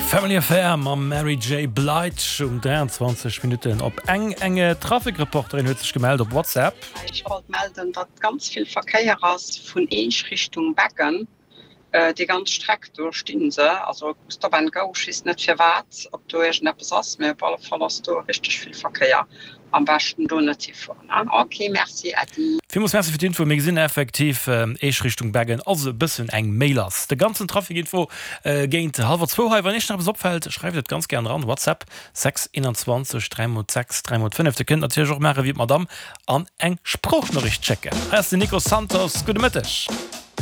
Family Affair mam Mary J. Blige um 23 Minutten op eng. Eng Trafic-Reporterin huet sech gemellt op WhatsApp. Ech wollt melden, datt ganz vill Verkéier ass vun Eech Richtung Beggen. Déi ganz Streck do stinn se, also Stop and Go. Ech weess net firwat, ob do iergendeppes ass, mee op alle Fall ass do richteg vill Verkéier. Am beschten do net hifueren. Ok, merci Äddi. Villmools Merci fir d'Info. Mir gesinn effektiv Eech Richtung Beggen ass e bëssen eng Méi lass. De ganzen Trafic-Info géint hallwer zwou hei. Wann Iech nach eppes opfält, schreift et ganz gären eran. WhatsApp 6 21 3 mol 6 3 mol 5. Dir kënnt natierlech och maache wéi d'Madamm an eng Sproochnoriicht schécken. Hei ass den Nico Santos. Gudde Mëtteg.